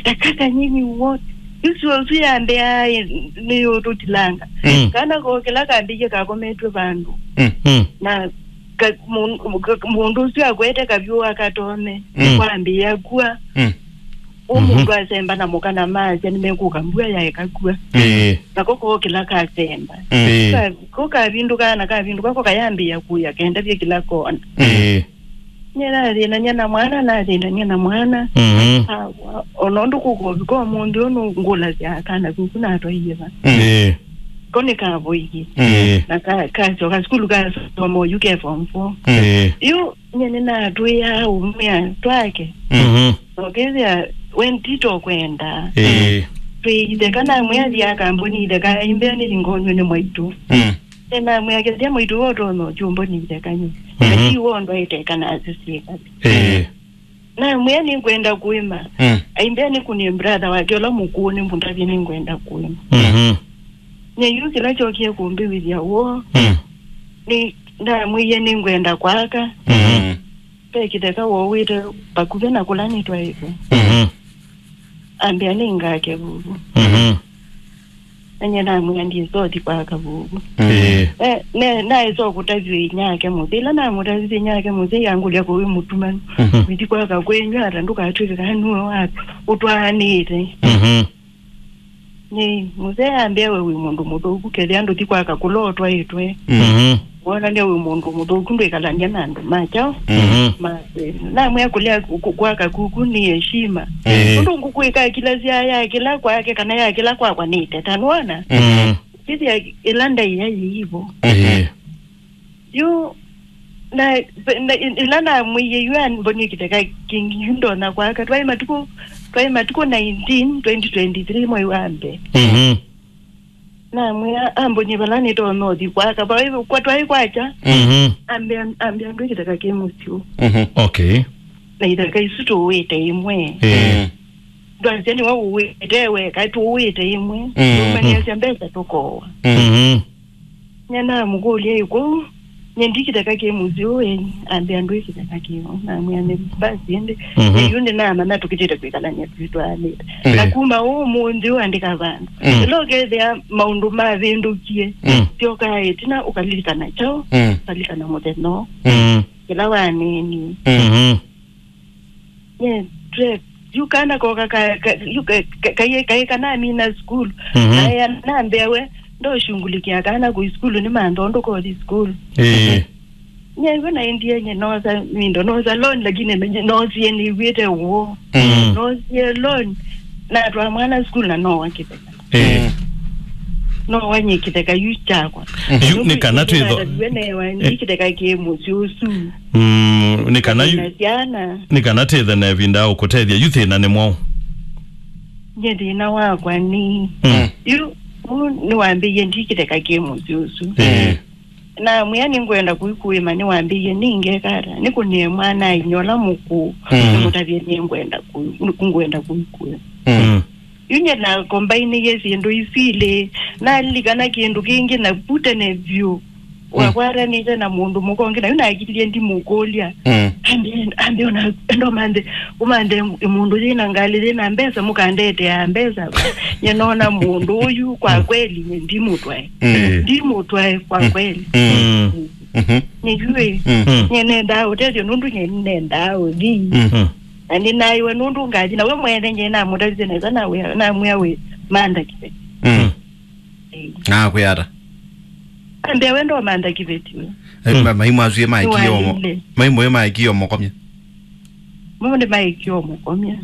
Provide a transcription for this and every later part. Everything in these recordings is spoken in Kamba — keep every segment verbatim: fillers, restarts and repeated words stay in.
Eka kanyini wot. Ĩsu ũsu yambĩa nĩyũtũtilanga. Mm. Kana ko kĩla kambĩie kakometwe vandũ. Mm. Mm. Na ka-, mũn-, ka-, mũndũ ũsu akwete kavyũ akatone. Mm. Kwambĩĩa kua. Mm. Ũ mũndũ asemba na mũka na masya nĩmekũka mbua yaeka kua. Ĩĩ. Nako ko kĩla kasemba. Ĩĩ. Ka-, ko kavindũkaa na kavindũka ko kayambĩĩa kũya kendavye kĩla kona. Ĩĩ. Nye nathĩnany'a na mwana, nathĩnany'a na mwana. Mhm. Awa, ona ũndũ kũkũvika ũmũnthĩ ũyũ nũngũlasya kana kuku natwaie va. Mm. Ĩĩ. Ko nĩkavoie. Mm. Ĩĩ. Na ka-, kasyoka sukulu kasoma oyu ke form four. Mm. Ĩĩ. Yu nye nĩnatwĩaa ũmwĩa twake. Mhm. Nokethĩa we ntito kwenda. Ĩĩ. Twĩitheka namwĩa thia kambuni itheka imbea nĩthingonywe nĩ mwaitũ. Mm. Namwĩa kethĩa mwaitũ wotonya ũkyũmboni itheka nyu. Mhm. Ati wondwa ĩteka na asisiĩka. Ĩĩ. Namwĩa nĩngwenda kũĩma. Mm. Aimbea nĩkũnie brother wake ũla mũkũũ nĩmũtavye nĩngwenda kũĩma. Mhm. Nyeyu kĩla kyokie kũmbĩwĩthya woo. Mm. Nĩ ndamwĩie nĩngwenda kwaka. Mhm. Ve kĩtheka wowĩte vakuvĩ na kũla nĩtwaĩtwe. Mhm. Ambĩa nĩngake vuvu. Mhm. Enye namwĩa ndisothi kwaka vuvu. Ĩĩ. Eh, ne, naĩsa kũtavya inyake mũthĩ. Ĩla namũtavisye inyake mũthĩ, yangũlya kũwĩ mũtumanu. Mhm. Wĩthi kwaka kwenyu ata ndũkatwĩke kana nue wa ũtwaanĩte. Mhm. Nĩ, mũsee ambĩa we wĩ mũndũ mũthũku, kethĩa ndũthi kwaka kũla ũtwaĩtwe. Mhm. Wonania wĩ mũndũ mũthũku, ndwĩkalany'a na andũ ma kyaũ. Mhm. Ma, namwĩa kũlea ku-, ku-, kwaka kuku nĩ heshima. Eh. Ũndũ ngũkũ ĩkakila sya ya kĩla kwake kana ya kĩla kwakwa nĩ ĩteta, nĩwona? Mhm. Kĩthĩa ĩla ndaĩa yĩivo. Eh. Yu, na, na, ĩla namwĩie yu ambonie kĩtheka kĩngĩ, yu ndonya kwaka. Twaĩ matukũ, twaĩ matukũ nineteen, twenty twenty-three, mwei wa mbee. Mhm. Namwĩa ambonie vala nĩtonya ũthi kwaka. Vaĩ, kwa twaĩ kwakya. Mhm. Ambĩa, ambĩa ndwĩ kĩtheka kĩ mũsyĩ. Mhm. Okay. Na itheka isu tũwĩte imwe. Eh. Mm. Ndwasya nĩwe ũwĩte weka, tũwĩte imwe. Mm. Tũmanyĩasya mbesa tũkowa. Mm. Mhm. Nyanamũkũlya ĩkũu, nye ndi kĩtheka kĩ mũsyĩ ũũ ĩĩ, ambĩa ndwĩ kĩtheka kĩu. Namwĩa nĩ basi ĩndĩ. Mhm. Yu ndĩnamanya tũkĩtĩte kwĩkalany'a twĩtwaanĩte. Mm. Na kuma ũmũnthĩ ũandĩka vandũ. Mm. Ĩla ũkethĩa maũndũ mavĩndũkie, mm, syokaa ĩtina ũkalilikana kyaũ, mm, ũkalilikana mũthenya ũũ. Mm. Kĩla wanĩnie. Mm. Mhm. Nye, twe, yu kana koka ka, ka, yu ka, ka, ka, kaĩ, kaĩ kanamina sukulu. Mhm. Aya nambĩa we, ndoshungulikia kana kũ sukulu nĩ mantha ũndũ kothi sukulu. Eh. Nye, hivyo naendie nye nosa, mindo nosa loan, lakini menye nosie nĩw'ĩte ũũ. Mm. Nosie loan, natwaa mwana sukulu na nowa kĩtheka. Eh. Mm. No wanyie kĩtheka yu kyakwa. Yu nĩ kana twĩtho- Nĩkĩtheka kĩ mũsyĩ ũsu. Mm, nĩ kana yu- Na syana. Nĩ kana twĩthe na ĩvinda ya ũkũtethya yu thĩna nĩ mwaũ? Nye thĩna wakwa nĩ. Mm. Yu, yu nĩwambĩie ndi kĩtheka kĩ mũsyĩ ũsu. Eh. Namwĩa nĩngwenda kũikũĩma, nĩwambĩie nĩngeka ata? Nĩkũnie mwana ainya ũla mũkũũ, mm, nĩmũtavye nĩngwenda kũ-, ngwenda kũikũĩma. Mm. Yu nye nakombainĩie syĩndũ isu ilĩ, nalilikana kĩndũ kĩngĩ na vu tene vyũ. Mm. Wakwatanĩte na mũndũ mũka ũngĩ, na yu nakilyĩ ndimũkũlya. Mm. Ambe, ambe ona, enda ũmanthe, ũmanthe mũndũ yĩna ngalĩ, yĩna mbesa, mũkandetea mbesa. Nye nona mũndũ ũyu, kwa, mm, kweli, nye ndimũtwae. Mm. Ndimũtwae, kwa, mm, kweli. Mm. Mm. Mhm. Nĩyuĩ. Mm. Mm. Nye nendaa ũtethyo nũndũ nye nendaa ũthi. Mm. Mm. Na nĩnaĩwe nũndũ ngathi na we mwene nye namũtavĩsye nesa na wĩa, namwĩa wĩ mantha kĩveti. Mm. Mm. Ĩĩ. Nakwĩa ata? Ambĩa we ndomantha kĩveti we. Eh, mm, ma-, maimũ asu ĩ maĩkie ũmo-, nĩwaĩle. Maimũ ĩ maĩkie ũmũkomya? Mo nĩ maĩkie ũmũkomya.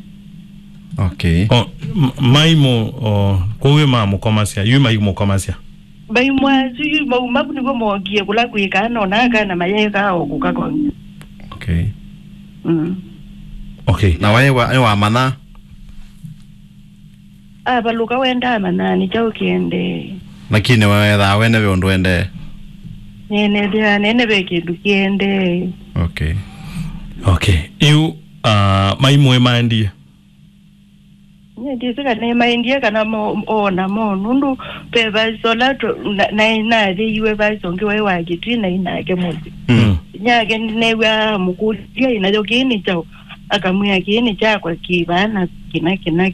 Okay. O, m-, maimũ, o, kũu ĩ mamũkomasya, yu maimũkomasya? Maimũ asu yu, mau, maku nĩguo mookie kũla kwĩkaa, nona kana mayekaa o kũkakomya. Okay. Mm. Okay. Na waĩ wa, nĩ wamanya? Avalũka wendaa manani kyaũ kĩendee. Lakini weethaa wene ve ũndũ wendee? Nenethĩa nene ve kĩndũ kĩendee. Okay. Okay. Yu, uh, maimũ ĩ maendie? Nye ndĩsĩ kana nĩmaendie kana mo-, ona mo, nũndũ ve vaisa ũla tũ-, na-, na-, nathĩiwe vaisa ũngĩ waĩ wa kĩtui na inake mũsyĩ. Mm. Nyake nĩneew'a amũkũlya inayo kĩĩ nĩ kyaũ, akamwĩa kĩĩ nĩ kyakwa kĩ vaa na kĩna, kĩna, kĩna.